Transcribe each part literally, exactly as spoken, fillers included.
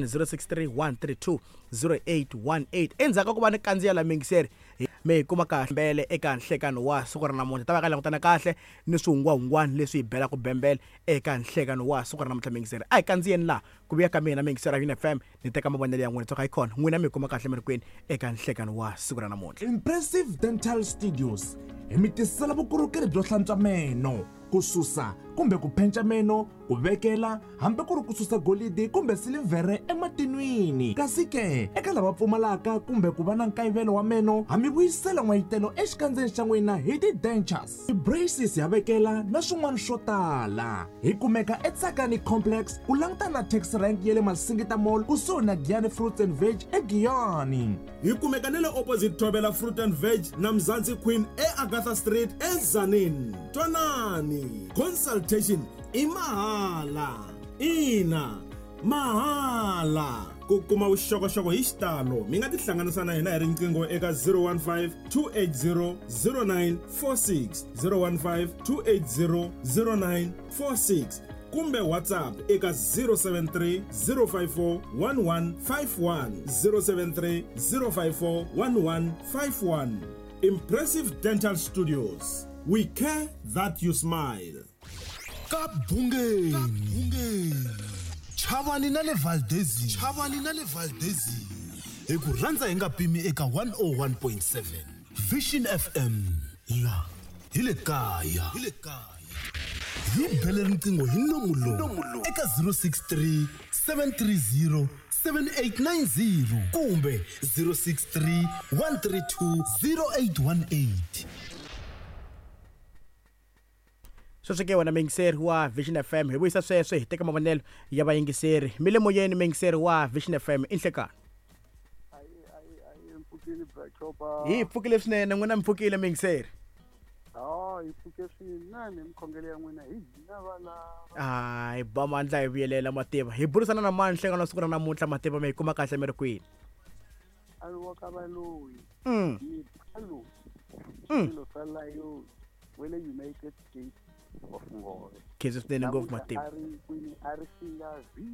zero six three one three two zero eight one eight. Endzhaku ka ku va ni kandziya la miyingiseri mi hi kuma kahle mbele eka nhlekano wa siku ra namuntlha, ta va ka langutana kahle ni swihungwahungwani leswi hi belaka bembele eka nhlekano wa siku ra namuntlha. Miyingiseri a hi kandziyeni laha ku vuya ka mina miyingiseri ya U N F M ni teka mavonelo ya n'wina tsoka hi kona n'wina mi hi kuma kahle mi ri kwini eka nhlekano wa siku ra namuntlha. Impressive Dental Studios hi mi tisela vukorhokeri byo hlantswa meno, ku susa kumbe ku penca meno, ku vekela hambi ku ri ku susa golidi kumbe silivhere ematinwini. Kasi ke eka lava pfumalaka kumbe ku va na nkayivelo wa meno, ha mi vuyisela n'wayitelo exikandzeni xa n'wina hi ti-dentures, ti-braces ya vekela na swin'wana swo tala. Hi kumeka eTsakani Complex ku langutana na taxi rank ya le Masingita Mall kusuhi na Giyani Fruits and Veg eGiyani. Hi kumeka na le opposite Thobela Fruit and Veg na Mzansi Queen eAgatha Street eZanini. Twanani, consultation i mahala. Ina, mahala. Ku kuma vuxokoxoko hi xitalo mi nga tihlanganisa na hina hi riqingho eka zero one five two eight zero zero nine four six, zero one five two eight zero zero nine four six kumbe WhatsApp eka zero seven three zero five four one one five one, zero seven three zero five four one one five one. Impressive Dental Studios, we care that you smile. Ka Bungeni, Chavani na le Valdezini, Chavani na le Valdezini. Hi ku rhandza hi nga pimi eka one oh one point seven Vision F M la hi le kaya, hi le kaya. Hi bele riqingho hi nomu lowu eka zero six three seven three zero seven eight nine zero kumbe zero six three one three two zero eight one eight. Sweswi ke wena miyingiseri wa Vision F M hi vuyisa sweswo hi teka mavonelo ya vayingiseri. Mi le moyeni miyingiseri wa Vision F M i nhlekani. Hi pfukile swinene n'wina mi pfukile miyingiseri. Hi pfuke swinene mikhongelo ya n'wina hi hina valava. Hayi ba mandla hi vuyelela mativa. Hi burisana na mani nhlekano siku ra namuntlha mativa mi hi kuma kahle mi ri kwini? A ri wa ka valoyi. Mm. Swilo swa layo we le United States of Ngove. Khensa swinene ngopfu mativa. A ri kwini a ri singa view.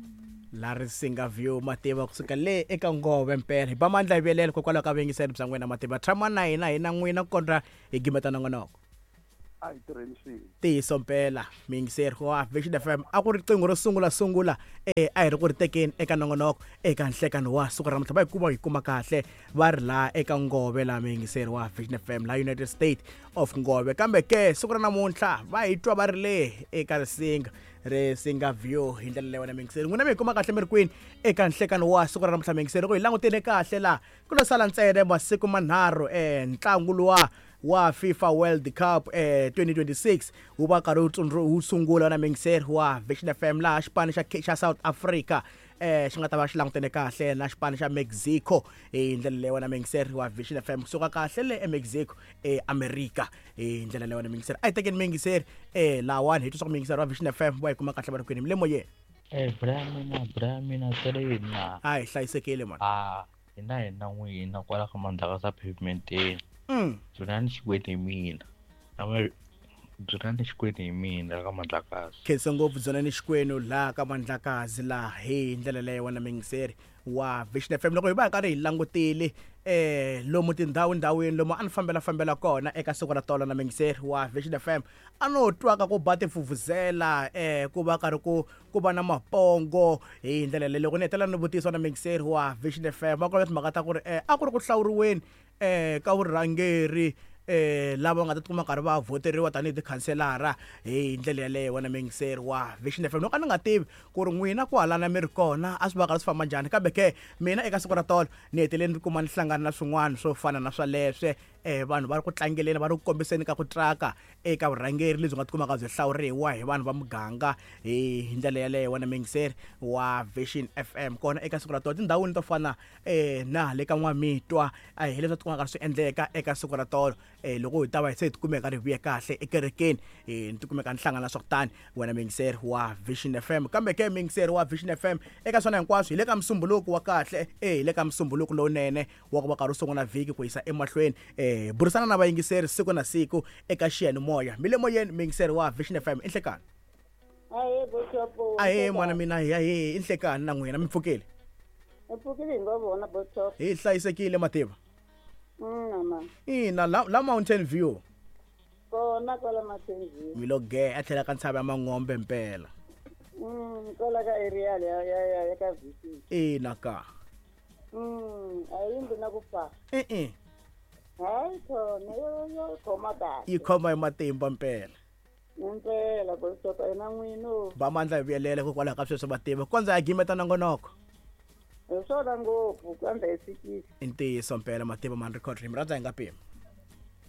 La ri singa view mativa kusuka le eka Ngove mpela. Hi ba mandla hi vuyelela hikokwalaho ka vuyingiseri bya n'wina mativa. Tshama na hina hi na n'wina ku kondza hi gimeta nongonoko. A hi tirheni swin'we. Ntiyiso mpela miyingiseri wa Vision F M a ku ri riqingho ro sungula sungula eh a hi ri ku ri tekeni eka nongonoko eka nhlekano wa siku ra namuntlha. Va hi kuma hi kuma kahle va ri laha eka Ngove laha miyingiseri wa Vision F M laha United States of Ngove. Kambe ke siku ra namuntlha va hi twa va ri le eka Risinga Risinga View hi ndlela leyi wena miyingiseri. N'wina mi hi kuma kahle mi ri kwini eka nhlekano wa siku ra namuntlha miyingiseri? Loko hi langutile kahle laha ku lo sala ntsena masiku manharhu eh ntlangu luwa wa FIFA World Cup eh twenty twenty-six wu va karhi wu sungula na miyingiseri wa Vision F M laha xipano xa xa South Africa eh xi nga ta va xi langutene kahle na xipano xa Mexico hi ndlela leyi wena miyingiseri wa Vision F M kusuka kahle le eMexico eAmerika hi ndlela leyi wena miyingiseri. A hi tekeni miyingiseri eh lawani hi twa swa ku miyingiseri wa Vision F M va hi kuma kahle va ri kwini mi le moyeni. Eh bra mina bra mina sele na. A hi hlayisekile mani. Ah hina hina n'wina kwala ka mandlaka sa pavementeni. Mm. Dzunani xikweti hi mina. Dzunani xikweti hi mina ka Mandlakazi. Khensa ngopfu Dzunani Xikwenu laha ka Mandlakazi laha hi ndlela leyi wena miyingiseri wa Vision F M. Loko hi va hi karhi hi langutile eh lomu tindhawu ndhawini lomu a ni fambela fambela kona eka siku ra tolo na miyingiseri wa Vision F M a no twaka ku ba tivuvuzela eh ku va karhi ku ku va na mapongo hi ndlela leyi. Loko ni hetelela ni vutisa na miyingiseri wa Vision F M va kombela timhaka ta ku ri eh a ku ri ku hlawuriweni eh ka vurhangeri eh lava nga ta tikuma karhi va voteriwa tanihi tikhanselara hi ndlela yaleyo wena miyingiseri wa Vision F M. Loko a ni nga tivi ku ri n'wina kwalana mi ri kona a swi va karhi swi famba njhani, kambe ke mina eka siku ra tolo ni hetelele ni kuma ni hlangana na swin'wana swo fana na swaleswe eh vanhu va ri ku tlangeleni va ri ku kombiseni ka ku traka eka vurhangeri lebyi nga tikumaka byi hlawuriwa hi vanhu va muganga hi ndlela yaleyo wena miyingiseri wa Vision F M. Kona eka siku ra tolo tindhawini to fana eh na le ka N'wamitwa hi leswi tikumaka swi endleka eka siku ra tolo eh loko hi ta va hi se hi tikumeka ri vuye kahle ekerekeni eh ni tikumeka ni hlangana swa kutani wena miyingiseri wa Vision F M. Kambe ke miyingiseri wa Vision F M eka swona hinkwaswo hi le ka musumbuluko wa kahle eh hi le ka musumbuluko lowunene wa ku va karhi u sungula vhiki ku yisa emahlweni eh burisana na vayingiseri siku na siku eka xiyanimoya. Mi le moyeni miyingiseri wa Vision F M i nhlekani. Ahee Bishop. Ahee mwana mina, ahee i nhlekani na n'wina mi pfukile? Hi pfukile hi ngo vona Botop. Hi hlayisekile Mativa. Mm mama. Ina la, la Mountain View. Kona kwala Mountain View. Mi lo ge a tlhela ka ntshava ya Mangombe mpela. Mm kwala ka area ya ya ya ya ka V C. Ina ka. Mm a yimbi na ku fa. Eh eh. Hayi khona yo yo khoma kahle. Yi khoma hi matimba mpela. Impela Botop ena n'wino. Ba mandla hi vuyelela hikokwalaho ka sweswo Mativa. Kwanza ya gimeta nongonoko. Hi swona ngopfu kambe hi fikile. I ntiyiso mpela Mativa man record rim rhandza hi nga pimi.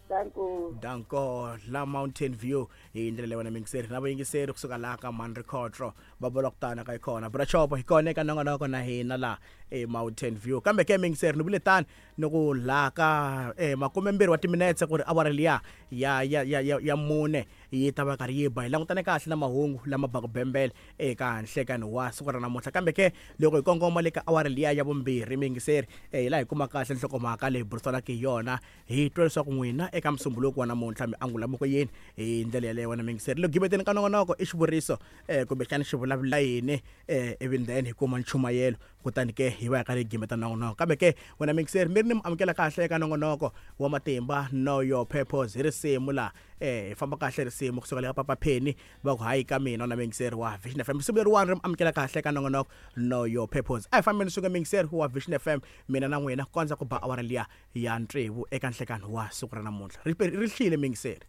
Danko. Danko la Mountain View hi ndlela leyi wena mingiseri na vayingiseri kusuka laha ka Man Record va vula ku tana ka ikona Brachopo hi kona eka nongonoko na hina la e Mountain View kambe ke mingiseri ni vule tani ni ku laha ka eh makumembirhi wa timinetse ku ri awara liya ya ya ya ya, ya mune yi ta va karhi yi ba hi langutane kahle na mahungu lama baka bembele eka nhlekani wa siku ra namuntlha kambe ke loko hi kongoma le ka awara liya ya vumbirhi mingiseri eh hi laha hi kuma kahle nhlokomhaka leyi burisanaka hi yona hi twa leswaku n'wina eka musumbuluko wa namuntlha mi angula moko yini hi ndlela yaleyo wena mingiseri loko gimeteni ka nongonoko i xivuriso eh kumbexana xi vulavula yini eh ivi then hi kuma nchumayelo kutani ke hi va hi karhi hi gimeta nongonoko kambe ke wena mingiseri mi ri ni mi amukela kahle eka nongonoko wa matimba Know Your Purpose hi risimu la eh hi famba kahle risimu kusuka le ka Papa Penny va ku hayi ka mina na mingiseri wa Vision F M risimu leriwani ri mi amukela kahle eka nongonoko Know Your Purpose a hi fambeni suka mingiseri wa Vision F M mina na n'wina kondza ku ba awara liya ya tsevu eka nhlekani wa siku ra namuntlha ri ri hlile mingiseri.